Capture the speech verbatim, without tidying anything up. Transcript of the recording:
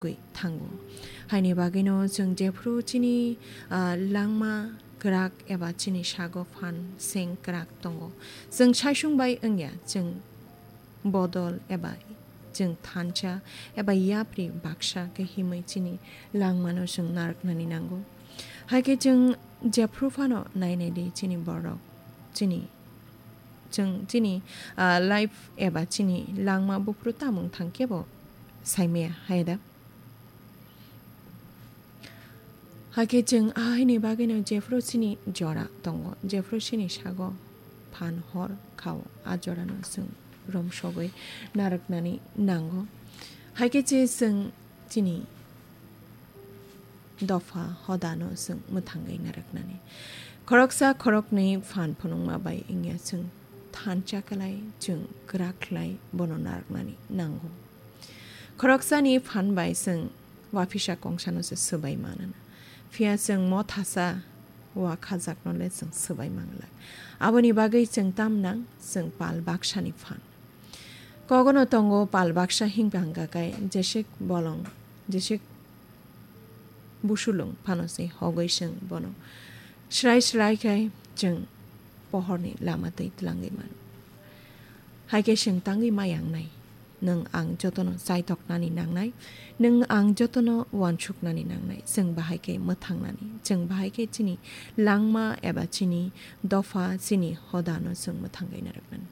thango. Haini bagwino chwng jephru chini, ah, langma kwrak eba chini sago phan seng kwrak tongo. Chwng saisung bai wngya, chwng bodol eba chwng thansa eba yapri baksa khe himwi chini langmano chwng narwknani nango. Hai khe chwng jephru phano nainai di chini borok, chini, chwng chini, ah, life eba chini langma buphuru tamung thang kebo saimaya, hai da? Hakhe chwng a haini bagwino jephru chini jora tongo, jephru chini sago phan hor khao, a jorano chwng romsogwi narwknani nango. Hakhe che chwng chini dopha hodano chwng mwthangwi narwknani. Khoroksa khoroknwi phan phunukma bai wngya chwng thansa khlai, chwng kwrak khlai bono narwknani nango. Khoroksani phan bai chwng waphisa kongsano se swbai manana. Phiya chwng mothasa wakhajakno le chwng swbai mangla. Aboni bagwi chwng tam nang, chwng pal baksani phan. Kogono tongo pal baksa himkha hwnkha khe jesik bolong, jesik busulung phano se hogwi chwng bono srai srai khe chwng pohorni lama twi tlangwi mano. Hai khe chwng tangwi ma yangnai. Nwng ang jotono chaithoknani nangnai, nwng ang jotono uansuknani nangnai. Chwng bahai khe mwthangnani, chwng bahai khe chini langma eba chini dopha, chini hodano chwng mwthangwi narwknani.